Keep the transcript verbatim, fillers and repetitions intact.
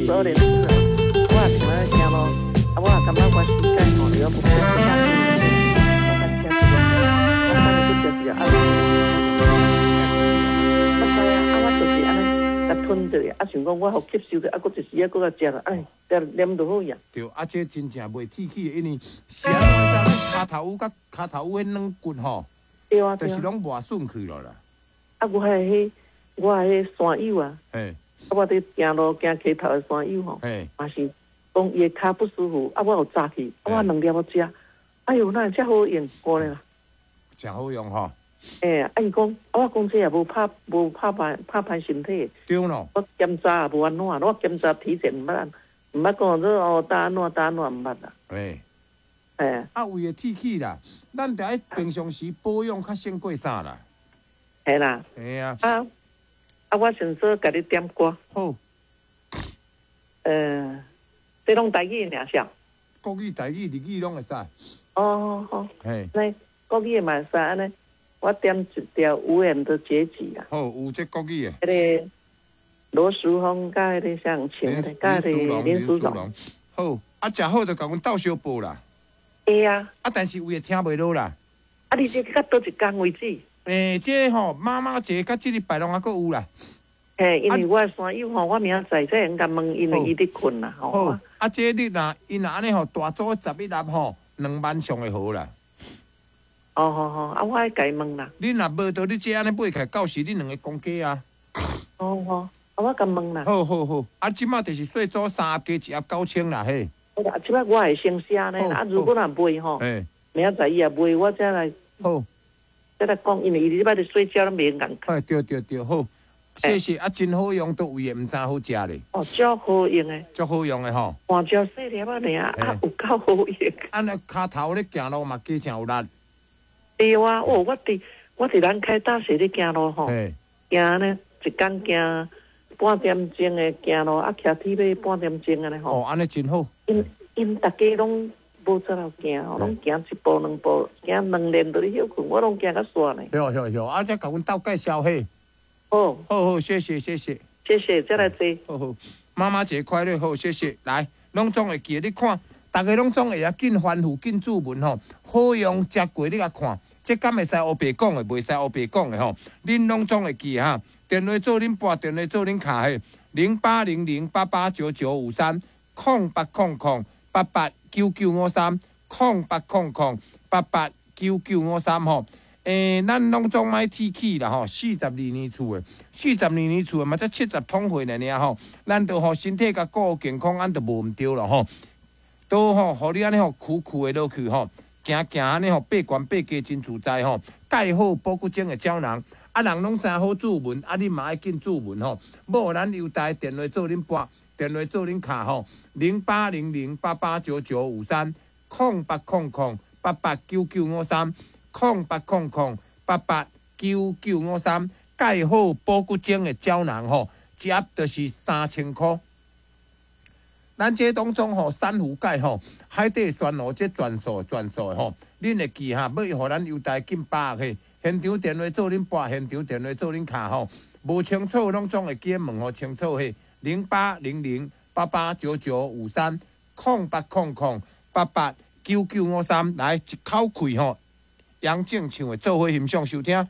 十二年次啊，我也像咧行路，啊，我也感覺我膝蓋吼，會曉不舒服，我較吃一個，我等下閣食一個，啊，我知啊，啊，我就是按呢，共吞著，啊，想講我予吸收著，啊，閣一時仔閣共食啦，哎，食啉就好呀。對，啊，這真正袂鐵齒的，因為是按怎你知？跤頭趺佮跤頭趺彼軟骨吼，對啊，就是攏磨損去了啦。啊，我彼彼，我彼山友啊，嘿，啊，我佇行路行溪頭的山友吼，嘛是講伊的跤不舒服，啊，我有早去，啊，我兩粒我食，哎喲，哪會遮好用，過咧啦。誠好用吼。欸，啊，伊講，啊，我講這也無拍，無拍歹，拍歹身體。對咯。我檢查也無按怎，我檢查體檢毋捌，毋捌講說哦，焦按怎焦按怎毋捌啦。欸。欸。啊，為了鐵齒啦，咱著愛平常時保養較勝過啥啦。係啦。嘿啊。啊啊！我想說共你點歌。好。呃，這攏台語爾是？國語、台語、日語攏會使。哦好。嘿。來，國語嘛會使按呢，我點一條無緣的結局啊。好，有這國語的。彼个羅淑芳佮彼个啥人唱的，佮彼个林淑容。好，啊，食好就共阮鬥相報啦。會啊。啊，但是有的聽袂落啦。啊，你這到佗一工為止？欸，這吼媽媽節佮這禮拜攏猶閣有啦。嘿，因為我的山友吼，我明仔載才會共問，因為伊佇睏啦吼。好，啊，這你若伊若按呢吼，大組十一粒吼，兩萬上會好啦。哦好好，啊，我愛共伊問啦。你若無到你這按呢買起來，到時恁兩个講價啊。哦好，啊，我共問啦。好好好，啊，這馬就是細組三盒加一盒九千啦，嘿。啊，這擺我會先寫呢，啊，如果若賣吼，明仔載伊也賣，我才來。好。再來講，因為伊這擺佇睡覺，攏袂用共。哎，對對對，好，謝謝啊，真好用，佗位的毋知好食咧。哦，足好用的。足好用的吼。換照細粒仔爾，啊，有夠好用。啊，那跤頭咧行路嘛，加誠有力。對啊，哦，我佇我佇南開大學咧行路吼，行呢一工行半點鐘的行路，啊，騎鐵馬半點鐘按呢吼。哦，按呢真好。𪜶𪜶逐家攏無怎樣行，攏行一步兩步，行兩練就咧歇睏，我攏行較煞呢。對對對，啊，才共阮鬥介紹嘿。好。好好，謝謝謝謝。謝謝，再來坐。好好，媽媽節快樂，好，謝謝。來，攏總會記得，你看，逐家攏總會曉緊翻覆、緊注文吼，好用食過你共看，這敢會使烏白講的，袂使烏白講的吼。恁攏總會記哈，電話做恁撥，電話做恁敲嘿，零八零零八八九九五三，空八空空八八九九五三，空八空空八八九九五三吼。欸，咱攏總莫鐵齒啦吼，四十二年次的，四十二年次的嘛，才七十通歲爾爾吼，咱著吼身體共顧健康，按就無毋對咯吼。都吼，予你按呢吼，苦苦的落去吼，行行按呢吼，爬懸爬低真自在吼。蓋好保骨精的膠囊，啊，人攏知好注文，啊，你嘛愛緊注文吼。無咱優待電話做恁撥，電話做恁敲吼，零八零零八八九九五三，空八空空八八九九五三。空八空空八八九九五三，蓋好保骨精的膠囊吼，一盒就是三千箍。咱這當中吼，珊瑚鈣吼，海底酸蘆這全素全素的吼，恁會記哈？欲予咱優待緊把握嘿，現場電話做恁撥，現場電話做恁敲吼，無清楚攏總會記問予清楚嘿。零八零零八八九九五三，空八空空八八九九五三，來一口氣吼。楊正唱的做伙欣賞收聽。